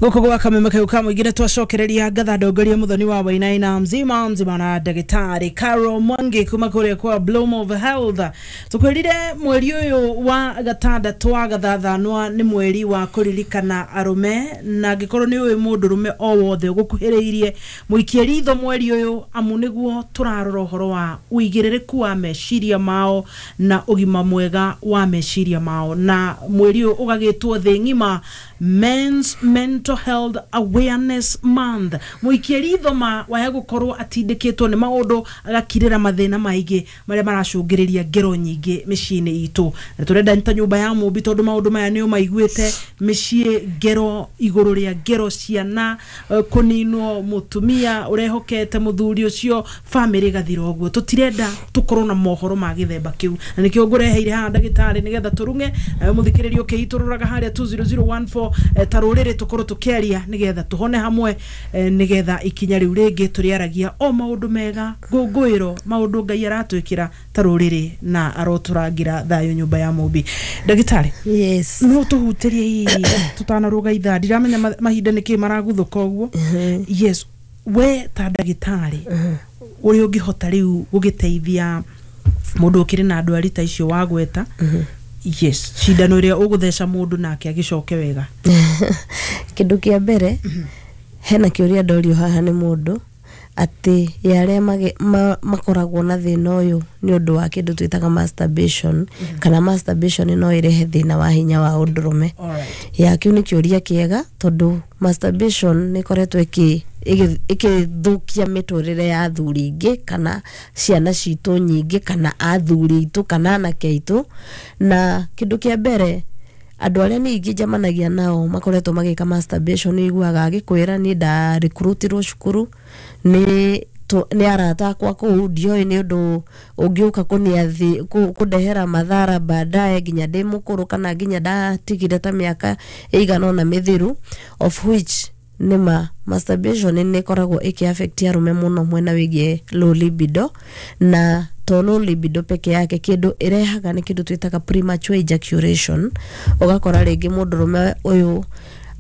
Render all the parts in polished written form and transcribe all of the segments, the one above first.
Gũkũ gwa kameme kau ka mũingĩ nĩ twacokereria ngatha ndongoria Muthoni wa Wainaina mzima mzima na ndagĩtarĩ Carol Mwangi kuma kũrĩa kwa Bloom of Health. Tũkwĩrire mweri ũyũ wa gatandatũ wa gathathanwa nĩ mweri wa kũririkana arũme, na angĩkorwo nĩ ũĩ mũndũrũme o wothe ũgũkuhĩrĩirie, mũikie ritho mweri ũyũ, amu nĩguo tũrarora ũhoro wa ũigĩrĩrĩku wa meciria mao na ũgima mwega wa meciria mao. Na mweri ũyũ ũgagĩtwo thĩ ng'ima Men's Mental Health Awareness Month. Mũikie ritho ma waya gũkorwo atindĩkĩtwo nĩ maũndũ, agakirĩra mathĩna maingĩ marĩa maracũngĩrĩria ngero nyingĩ mĩciĩ-inĩ itũ. Na tũrenda ta nyũmba ya mũmbi, tondũ maũndũ maya nĩ ũmaiguĩte mĩciĩ, ngero igũrũ rĩa ngero, ciana kũninwo, mũtumia ũrehokete mũthuri ũcio, bamĩrĩ ĩgathira ũguo. Tũtirenda tũkorwo na mohoro ma gĩthemba kĩu, na nĩkĩo ngũreheire haha ndagĩtarĩ nĩgetha tũrung'e nawe mũthikĩrĩria ũkĩitũrũraga harĩa 20014, ta rũrĩrĩ tũkorwo tũkĩaria nĩgetha tũhone hamwe, nĩgetha ikinya rĩu rĩngĩ tũrĩaragia o maũndũ mega, ngũngũĩro, maũndũ Ngai aratwĩkĩra ta rũrĩrĩ na arotũrangĩra thayũ nyũmba ya mũmbi. Ndagĩtarĩ, Yes. no tũhutĩrie hihi tũtanarũga ithaa, ndiramenya mahinda nĩkĩ maraguthũka ũguo. Yes, we ta ndagĩtarĩ, ũrĩa ũngĩhota rĩu gũgĩteithia mũndũ ũkĩrĩ na ndwari ta icio wagweta, yes, cindano ĩrĩa ũgũtheca mũndũ nake agĩcoke wega? Kĩndũ kĩa mbere, hena kĩũria ndorio haha nĩ mũndũ atĩ ya arĩa makoragwo na thĩna ũyũ nĩ ũndũ wa kĩndũ twĩtaga masturbation, kana masturbation no ĩrehe thĩna wa hinya wa ũndũrũme. Ya, kĩu nĩ kĩũria kĩega, tondũ masturbation nĩ ĩkoretwo ĩkĩthũkia mĩtũrĩre ya athuri ingĩ kana ciana citũ nyingĩ kana athuri aitũ kana anake aitũ. Na kĩndũ kĩa mbere, andũ arĩa ningĩ njemanagia nao makoretwo magĩka masturbation, iguaga agĩkwĩra, "Niĩ ndarecruitirwo cukuru nĩ arata akwa kũu, ndioĩ nĩ ũndũ ũngĩũka kũniathi kũndehera madhara baadaye nginya ndĩ mũkũrũ kana nginya ndatigire ta mĩaka ĩigana ũna mĩthiru." Of which nĩma masturbation nĩ ĩkoragwo ĩkĩ affect arũme mũno mwena wĩgiĩ low libido, na to low libido peke yake, kĩndũ ĩrehaga nĩ kĩndũ twĩtaga premature ejaculation. Ũgakora rĩngĩ mũndũrũme ũyũ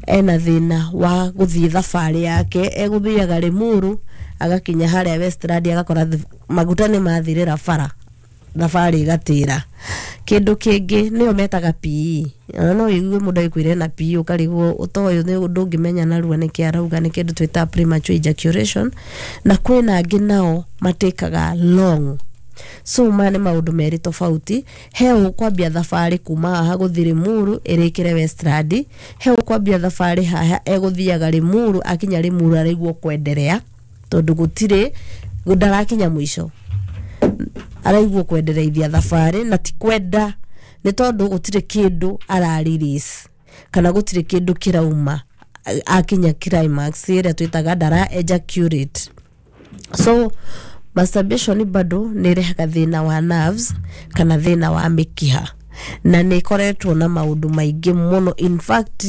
ena thĩna wa gũthiĩ thabarĩ yake, egũthiaga Limuru, agakinya harĩa Westland agakora maguta nĩ mathirĩra bara, thabarĩ ĩgatĩra. Kĩndũ kĩngĩ nĩyo metaga PE. Ona no ũigue mũndũ agĩkwĩra na PE, ũkarigwo ũtoyũ nĩ ũndũ ũngĩmenya narua nĩkĩ arauga. Nĩ kĩndũ twĩtaga premature ejaculation. Na kwĩna angĩ nao matĩkaga long. So maya nĩ maũndũ merĩ tofauti. He ũkwambia thabarĩ kuma haha gũthiĩ Limuru ĩrĩkĩre Westland, he ũkwambia thabarĩ haha egũthiaga Limuru, akinya Limuru araigua kwenderea tondũ gũtirĩ ndarakinya mũico, araigua kwendereithia thabarĩ, na ti kwenda, nĩ tondũ gũtirĩ kĩndũ ara release kana gũtirĩ kĩndũ kĩrauma akinya climax ĩrĩa twĩtaga ndara ejaculate. So masturbation bado nĩ ĩrehaga thĩna wa nerves kana thĩna wa mĩkiha, na nĩ ĩkoretwo na maũndũ maingĩ mũno. In fact,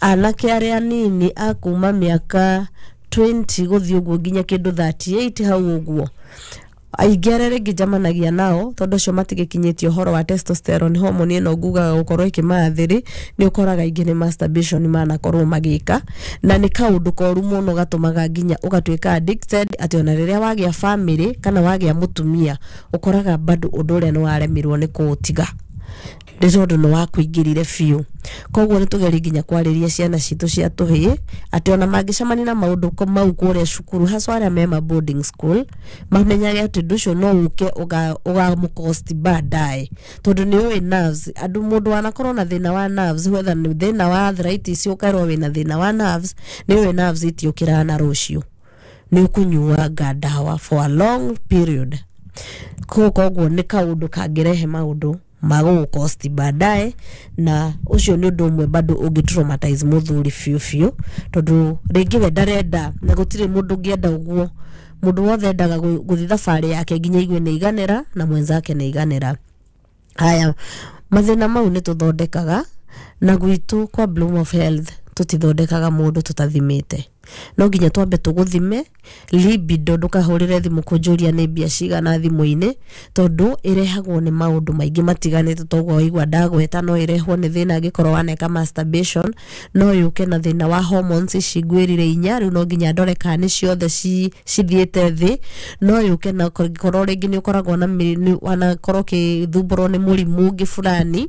anake arĩa anini a kuma mĩaka 20 gũthiĩ ũguo nginya kĩndũ 38 hau ũguo, aingĩ arĩa rĩngĩ njamanagia nao, tondũ acio matigĩkinyĩtie ũhoro wa testosterone hormone ĩno ngugaga gũkorwo ĩkĩmathĩrĩ, nĩ ũkoraga aingĩ nĩ masturbation manakorwo magĩka, na nĩ kaũndũ koru mũno gatũmaga nginya ũgatuĩka addicted, atĩ ona rĩrĩa wagĩa family kana wagĩa mũtumia, ũkoraga bado ũndũ ũrĩa nĩ waremirwo nĩ kũũtiga, nĩ tondũ nĩ wakũingĩrire biũ. Koguo nĩ tũgerie nginya kwarĩria ciana citũ cia tũhĩĩ atĩ ona mangĩcemania na maũndũ mau kũrĩa cukuru, haswa arĩa me ma boarding school, mamenyage atĩ ũndũ ũcio no ũke ũgamũcost baadaye, tondũ nĩ ũĩ nerves, andũ mũndũ wanakorwo na thĩna wa nerves, whether nĩ thĩna wa arthritis, ũkerwo wĩna thĩna wa nerves, nĩ ũĩ nerves itiũkĩraga na rũciũ, nĩ ũkũnyuanga ndawa for a long period. Koguo nĩ kaũndũ kangĩrehe maũndũ ma gũgũcost baadaye, na ũcio nĩ ũndũ ũmwe bado ũngĩ traumatize mũthuri biũ biũ, tondũ rĩngĩ we ndarenda, na gũtirĩ mũndũ ũngĩenda ũguo. Mũndũ wothe endaga gũthiĩ thabarĩ yake nginya igue nĩ iganĩra na mwenzake nĩ iganĩra. Haya, mathĩna mau nĩ tũthondekaga, na gwitũ kwa Bloom of Health tũtithondekaga mũndũ tũtathimĩte. No nginya twambe tũgũthime libido. Ndũkahũrĩre thimũ kũnjũria nĩ mbia cigana thimũ-inĩ, tondũ ĩrehagwo nĩ maũndũ maingĩ matiganĩte. Toguo waigua ndagweta, no ĩrehwo nĩ thĩna angĩkorwo waneka masturbation, no yũke na thĩna wa hormones ici ngwĩrire inya. Rĩu no nginya ndore kana nĩ ciothe cithiĩte thĩ. No yũke na korwo rĩngĩ nĩ ũkoragwo na wanakorwo ũkĩthumbũrwo nĩ mũrimũ ũngĩ fulani,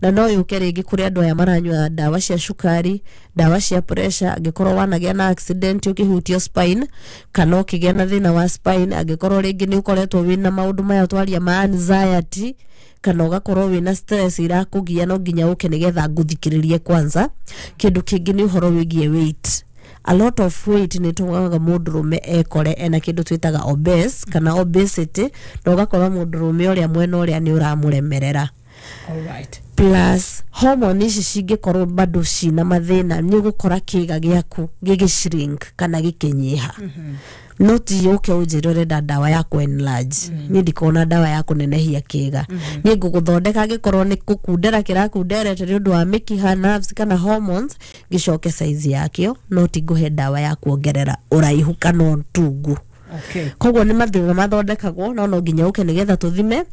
na no yũke rĩngĩ kũrĩ andũ aya maranyua ndawa cia cukari, ndawa cia pressure, angĩkorwo wanagĩa na accident ũkĩhutio spine kana ũkĩgĩa na thĩna wa spine, angĩkorwo rĩngĩ nĩ ũkoretwo wĩna maũndũ maya twaria ma anxiety kana ũgakorwo wĩna stress irakũgia. No nginya ũke nĩgetha ngũthikĩrĩrie kwanza. Kĩndũ kĩngĩ nĩ ũhoro wĩgiĩ weight. A lot of weight nĩ tũmaga mũndũrũme ekore ena kĩndũ twĩtaga obese kana obesity, na ũgakora mũndũrũme ũrĩa mwena ũrĩa nĩ ũramũremerera. Alright. Plus hormone ici cingĩkorwo bado cina mathĩna, nĩ ũgũkora kĩga gĩaku gĩgĩ shrink kana gĩkĩnyiha. No ti ũke ũnjĩre ũrenda ndawa ya kũ enlarge. Niĩ ndikona ndawa ya kũnenehia kĩga. Niĩ ngũgũthondeka, angĩkorwo nĩ kũkundera kĩrakunderete nĩ ũndũ wa mĩkiha, nerves kana hormones, gĩcoke size yakĩo, no ti ngũhe ndawa ya kuongerera ũraihu kana ũtungu. Koguo nĩ mathĩna mathondekagwo, no nginya ũke nĩgetha tũthime,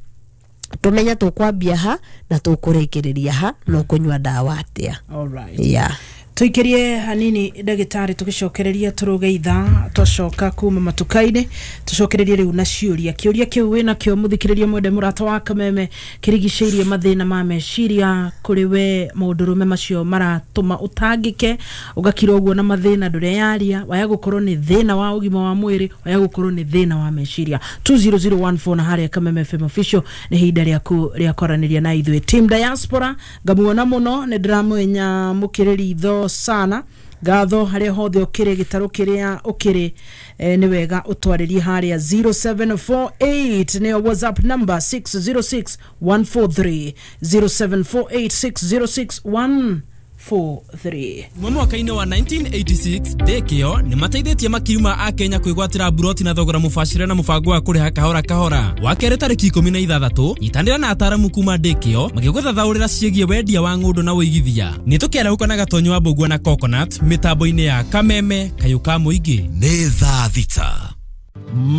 tũmenye tũkwambia ha na tũkũrĩkĩrĩria ha na ũkũnyua ndawa atĩa. Alright. Yeah. Tuikirie hanini, ndagĩtarĩ, tũgĩcokereria tũrũge ithaa. Twacoka kuma matuka-inĩ, tũcokererie rĩu na ciũria. Kĩũria kĩu wĩnakĩo, mũthikĩrĩria mwende, mũrata wa Kameme, kĩrigicĩirie mathĩna ma meciria kũrĩ we mũndũrũme, macio maratũma ũtangĩke, ũgakira ũguo na mathĩna ndũreyaria. Waya gũkorwo nĩ thĩna wa ũgima wa mwĩrĩ, waya gũkorwo nĩ thĩna wa meciria. 20014 na harĩa Kameme FM Official nĩ ihinda rĩaku rĩa kwaranĩria na ithuĩ. Team Diaspora ngamuona mũno, nĩ ndĩramwenya mũkĩrĩri itho sana. Ngatho harĩa hothe ũkĩrĩ, gĩtarũ kĩrĩa ũkĩrĩ, nĩ wega ũtwarĩrie harĩa 0748 nĩyo WhatsApp number, 606 143, 0748 606 143. Kuma mwaka-inĩ wa 1986, ndĩkĩo nĩ mateithĩtie makiri ma akenya kwĩgwatĩra mburoti na thogora mũbacĩre na mũbango wa kũrĩha kahora kahora. Wa kerĩ tarĩki 16, nyitanĩra na ataramu kuma ndĩkĩo magĩgũthathaũrĩra ciĩgiĩ wendia wa ng'ũndũ na ũigithia. Nĩ tũkĩarahũka na Gatonyo wa Mbũgua na Coconut mĩtambo-inĩ ya Kameme, kayũ ka mũingĩ. Nĩ thaa 6.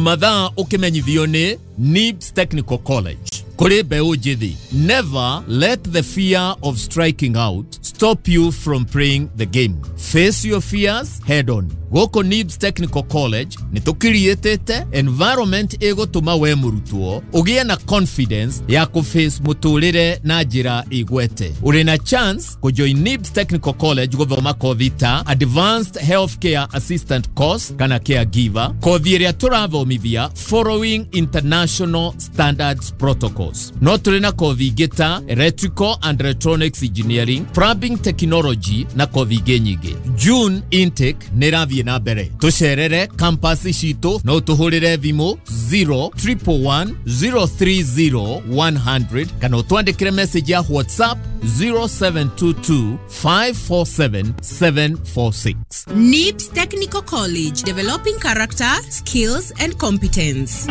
Mathaa ũkĩmenyithio nĩ NIBS Technical College. Kũrĩ mbeũ njĩthĩ, never let the fear of striking out stop you from playing the game. Face your fears head on. Gũkũ NIBS Technical College nĩ tũkiriĩtĩte environment ĩgũtũma we mũrutwo ũgĩe na confidence ya kũface mũtũrĩre na njĩra ĩgwete. Ũrĩ na chance kũjoin NIBS Technical College gũthoma kothi ta Advanced Healthcare Assistant Course kana Caregiver, kothi ĩrĩa tũrathomithia following international standards protocols. No tũrĩ na kothi ingĩ ta Electrical and Electronics Engineering, Plumbing Technology na kothi ingĩ nyingĩ. June intake nĩ ĩrathiĩ na mbere. Tũcerere campus citũ, no tũhũrĩre thimũ 0 111 030 100 kana ũtwandĩkĩre message ya WhatsApp 0722 547 746. NIBS Technical College, developing character, skills, and competence.